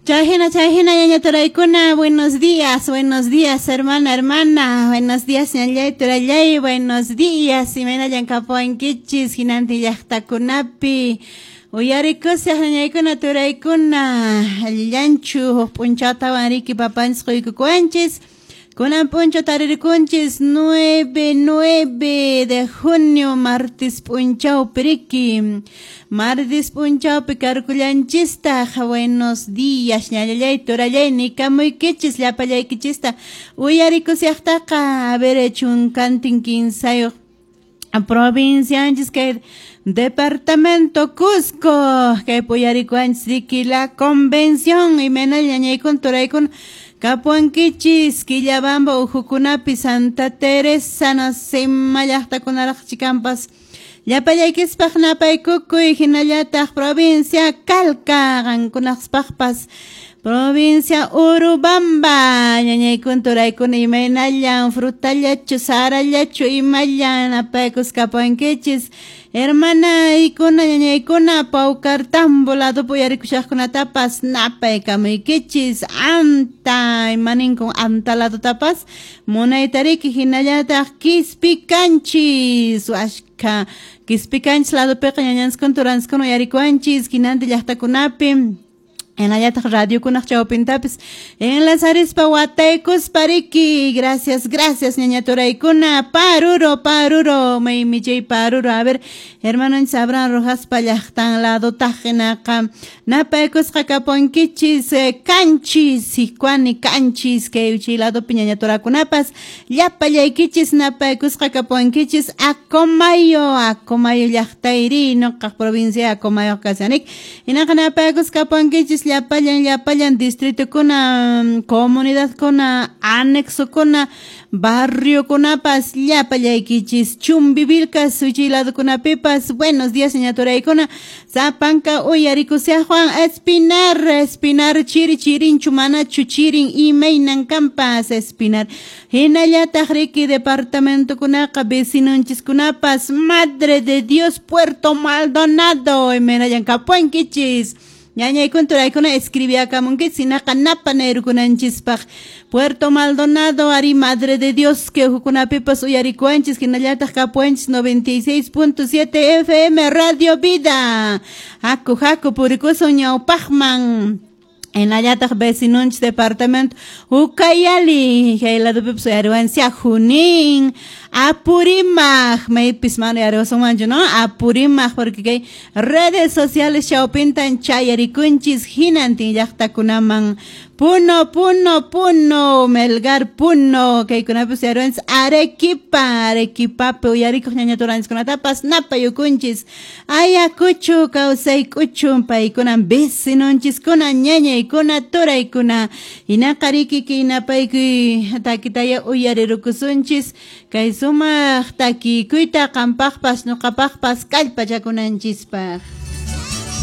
Chayhina, chayhina, ñaña turaykuna, buenos días, hermana, hermana, buenos días, ñallay, turallay, buenos días, imaynallan kapuwankichis, hinantin llaqtakunapi, uyarikusaq ñañaykuna, turaykuna, allillanchu, huk p'unchawtawan riki papanchis quykukuwanchis, kunan p'unchaw taririkunchis 9 de junio, martes p'unchawpi riki, martes p'unchawpi karkullanchistaq, buenos días, ñallallay, turallay, nikamuykichis, llapallaykichista, uyarikusaqtaqa, a ver, chunkantin kinsayuq provincianchis kay departamento Cusco, kay puyarikuanchis riki la convención, imaynalla ñañaykuna, turaykuna, kapuankichis, Quillabamba uhukunapi, Santa Teresa, nasima llaqtakunaraq chikampas, llapallaykispaq napaykukuy, hinallataq provincia Calca, qankunaqpaqpas, provincia Urubamba, ñañaykuna, turaykuna, imaynallan, frutallachu, sarallachu, imallan, napaykus kapuankichis, hermanaykuna, ñañaykuna, Paucartambo ladopi uyarikushaqkunatapas napaykamuykichis, anta, imaninkun anta ladotapas, munaytariki, hinallataq Quispicanchis, ashka, Quispicanchis ladopiqa ñañanskuna, turanskuna uyarikuanchis, hinantin llaqtakunapi, hinallataq radiokunaq chawpintapis enlazarispa wataykuspa riki, gracias, gracias ñaña turaykuna, paruro, paruro, maymi chay paruro, a ver, hermanonchis Abraham Rojaspa llaqtan ladotaq hinaqa napaykusqa kapuankichis, kanchis, Sicuani kanchis, kay chay ladopi ñaña turakunapas, llapallaykichis napaykusqa kapuankichis, Acomayo, Acomayo llaqtayri, nuqaq provincia Acomayo kashanik, hinaqa napaykusqa kapuankichis, llapallan, llapallan distritukuna, comunidadkuna, anexokuna, barriokunapas, llapallaykichis, Chumbivilcas, wichiy ladokunapipas, buenos días ñaña turaykuna, sapanka uyarikusaqwan, Espinar, Espinar, chiri chirinchu, manachu chirin, imaynan kampas, Espinar, hinallataq riki departamentokunaqa, vecinonchiskunapas, Madre de Dios, Puerto Maldonado, imaynallan kapuankichis, ñañaykuna, turaykuna, escribiakamunkichis, hinaqa napa nayrukunanchispaq, Puerto Maldonado, ari Madre de Dios, que hukunapipas uyarikuanchis, hinallataq kapuanchis 96.7 FM Radio Vida, haku, haku, purikusun ñawpaqman, hinallataq vecinonchis departamento Ucayali, kay ladopipas uyariwanchis, Junín, Apurímac, maypis mana uyariwasunmanchu, no? Apurímac, porque kay redes sociales chawpintan chayarikunchis hinantin llaqtakunaman, Puno, Puno, Puno, Melgar, Puno, kaykunapi uyariwanchis, Arequipa, Arequipapi uyarikuq ñaña turanchiskunatapas napayukunchis, Ayacucho, kawsaykuchu, paykunan vecinonchiskuna, ñañaykuna, turaykuna, hinaqa riki kay napaykuy takitaya uyarirukusunchis, kay sumaq takikuyta qampaqpas ñuqapaqpas kallpachakunanchispaq.